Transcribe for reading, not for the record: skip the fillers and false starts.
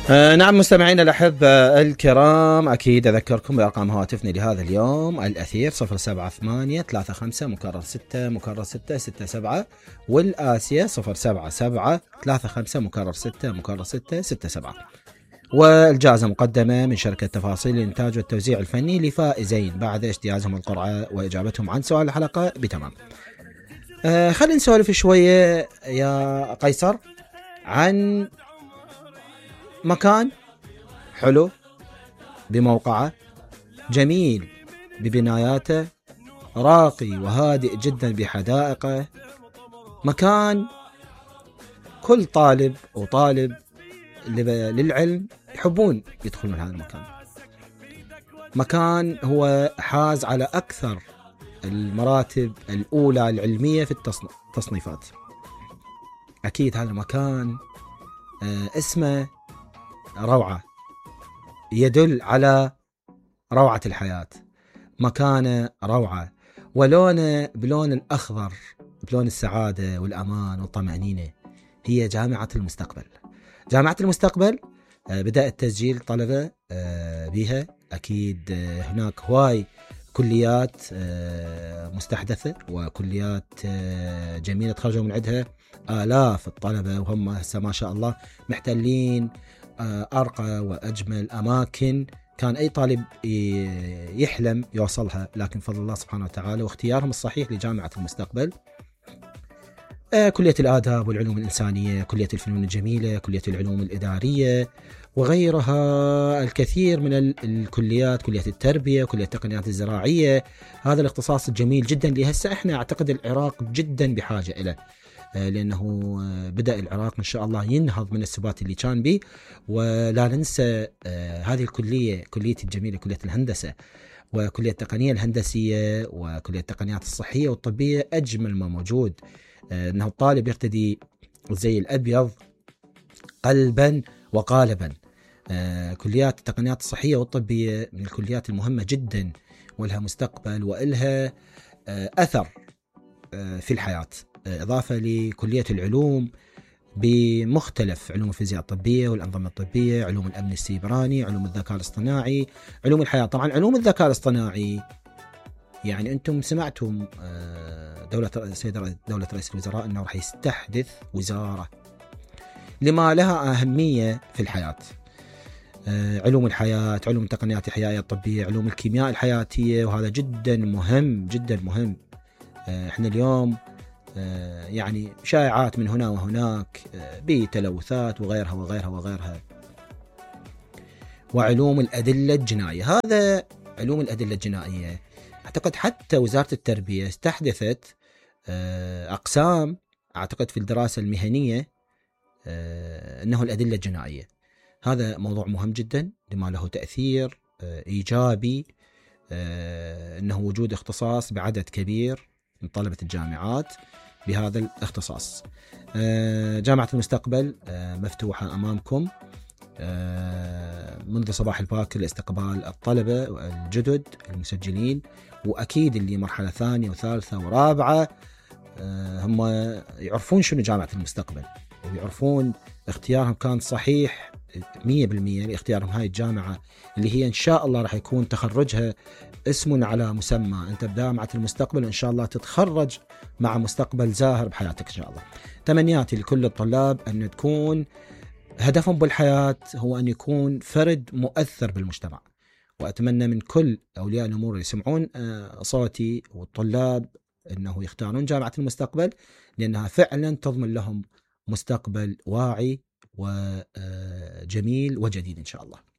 نعم مستمعينا الأحبة الكرام، أكيد أذكركم بأرقام هواتفنا لهذا اليوم: الأثير 07835 مكرر 6 مكرر 667، والآسيا 07735 مكرر 6 مكرر 667. والجائزة مقدمة من شركة تفاصيل الإنتاج والتوزيع الفني لفائزين بعد اجتيازهم القرعة وإجابتهم عن سؤال الحلقة بتمام. خلينا نسولف شوية يا قيصر عن مكان حلو بموقعه، جميل ببناياته، راقي وهادئ جدا بحدائقه، مكان كل طالب وطالب للعلم يحبون يدخلون هذا المكان. مكان هو حاز على أكثر المراتب الأولى العلمية في التصنيفات. أكيد هذا المكان اسمه روعة، يدل على روعة الحياة. مكانه روعة، ولونه بلون الأخضر، بلون السعادة والأمان والطمأنينة. هي جامعة المستقبل. جامعة المستقبل بدأ التسجيل طلبة بها. أكيد هناك هواي كليات مستحدثة وكليات جميلة تخرجوا من عندها آلاف الطلبة، وهم هسه ما شاء الله محتلين أرقى وأجمل أماكن كان أي طالب يحلم يوصلها، لكن فضل الله سبحانه وتعالى واختيارهم الصحيح لجامعة المستقبل. كلية الآداب والعلوم الإنسانية، كلية الفنون الجميلة، كلية العلوم الإدارية، وغيرها الكثير من الكليات، كلية التربية، كلية التقنيات الزراعية. هذا الاختصاص الجميل جدا اللي هسه احنا اعتقد العراق جدا بحاجة إليه، لأنه بدأ العراق إن شاء الله ينهض من السبات اللي كان به. ولا ننسى هذه الكلية، كلية الجميلة، كلية الهندسة وكلية التقنية الهندسية وكلية التقنيات الصحية والطبية. أجمل ما موجود أنه الطالب يرتدي زي الأبيض قلبا وقالبا. كليات التقنيات الصحية والطبية من الكليات المهمة جدا، ولها مستقبل وإلها أثر في الحياة، إضافة لكلية العلوم بمختلف علوم الفيزياء الطبية والأنظمة الطبية، علوم الأمن السيبراني، علوم الذكاء الاصطناعي، علوم الحياة. طبعا علوم الذكاء الاصطناعي يعني أنتم سمعتم دولة رئيس الوزراء أنه راح يستحدث وزارة لما لها أهمية في الحياة. علوم الحياة، علوم التقنيات الحيوية الطبية، علوم الكيمياء الحياتية، وهذا جدا مهم جدا مهم. احنا اليوم يعني شائعات من هنا وهناك بتلوثات وغيرها وغيرها وغيرها. وعلوم الأدلة الجنائية، هذا علوم الأدلة الجنائية أعتقد حتى وزارة التربية استحدثت أقسام أعتقد في الدراسة المهنية أنه الأدلة الجنائية. هذا موضوع مهم جدا لما له تأثير إيجابي، أنه وجود اختصاص بعدد كبير من طلبة الجامعات بهذا الاختصاص. جامعة المستقبل مفتوحة أمامكم منذ صباح الباكر لاستقبال الطلبة الجدد المسجلين، وأكيد اللي مرحلة ثانية وثالثة ورابعة هم يعرفون شنو جامعة المستقبل ويعرفون اختيارهم كان صحيح 100% لاختيارهم هاي الجامعة اللي هي إن شاء الله راح يكون تخرجها اسم على مسمى. أنت بجامعة المستقبل إن شاء الله تتخرج مع مستقبل زاهر بحياتك إن شاء الله. تمنياتي لكل الطلاب أن تكون هدفهم بالحياة هو أن يكون فرد مؤثر بالمجتمع، وأتمنى من كل أولياء الأمور يسمعون صوتي والطلاب أنه يختارون جامعة المستقبل، لأنها فعلا تضمن لهم مستقبل واعي وجميل وجديد إن شاء الله.